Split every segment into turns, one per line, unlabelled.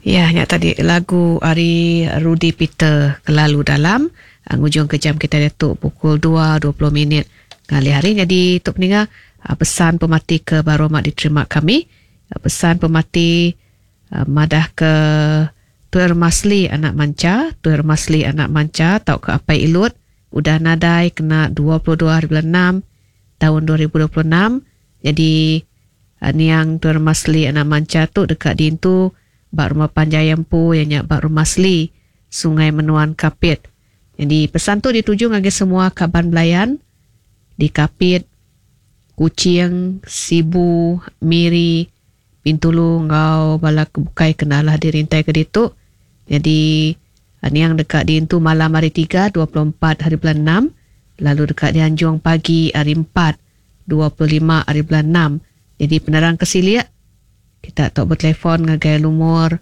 Ya nya tadi lagu ari Rudy Peter Kelalu Dalam ngujung ke jam kitai diatu pukul 2.20 minit ngalih hari nyadi tu peninga pesan pemati ke baru amat diterima kami pesan pemati madah ke Tuer Masli anak Mancha Tuer Masli anak Mancha tauka Apai Ilut udah nadai kena 22 hari bulan 6 taun 2026 nyadi Niang Tuer Masli anak Mancha tu deka diintu ba rumah panjai empu iya nya ba Rumah Sli, Sungai Menuan Kapit. Nyadi pesan tu dituju ngagai semua kaban belayan di Kapit, Kuching, Sibu, Miri, Bintulu enggau bala ke bukai ke enda alah dirintaika ditu. Nyadi niang deka diintu malam hari Tiga 24 hari bulan enam lalu deka dianjung pagi hari Empat 25 hari bulan enam. Nyadi penerang ke silik kita tau betelefon ngagai lumur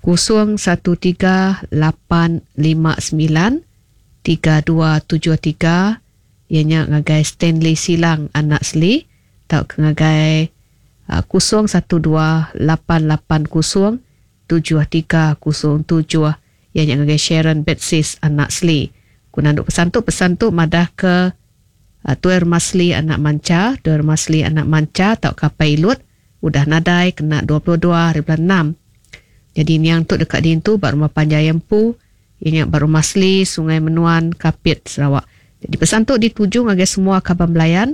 0138593273 iya nya ngagai Stanley Silang anak Sli tauka ngagai 0128807307 iya nya ngagai Sharon Betsis anak Sli. Ku nandu pesan tu, pesan tu madahka Tuai Rumah Sli anak Mancha, Tuai Rumah Sli anak Mancha tauka Apai Ilut udah nadai kena 22 hari bulan enam. Nyadi niang tu deka diintu ba rumah panjai empu iya nya ba Rumah Sli, Sungai Menuan, Kapit, Sarawak. Nyadi pesan tu dituju ngagai semua kaban belayan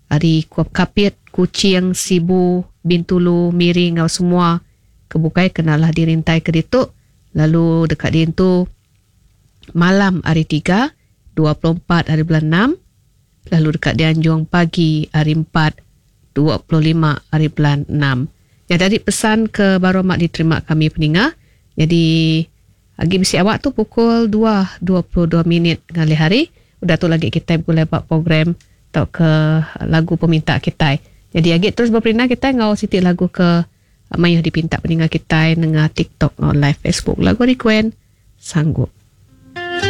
ari Kapit, Kuching, Sibu, Bintulu, Miri enggau semua ke bukai ke enda alah dirintaika ditu lalu deka diintu malam hari Tiga, 24 hari bulan enam, lalu deka dianjung pagi hari Empat, 25 hari bulan enam. Nya tadi pesan ke baru amat diterima kami peninga. Nyadi agi bisi awak tu pukul 2.22 minit ngalih hari. Udah tu lagi kitai begulai ba program tauka lagu peminta kitai. Nyadi agi terus beperindang kitai enggau siti lagu ke mayuh dipinta peninga kitai nengah TikTok enggau live Facebook. Lagu ari Gwen. Sanggup.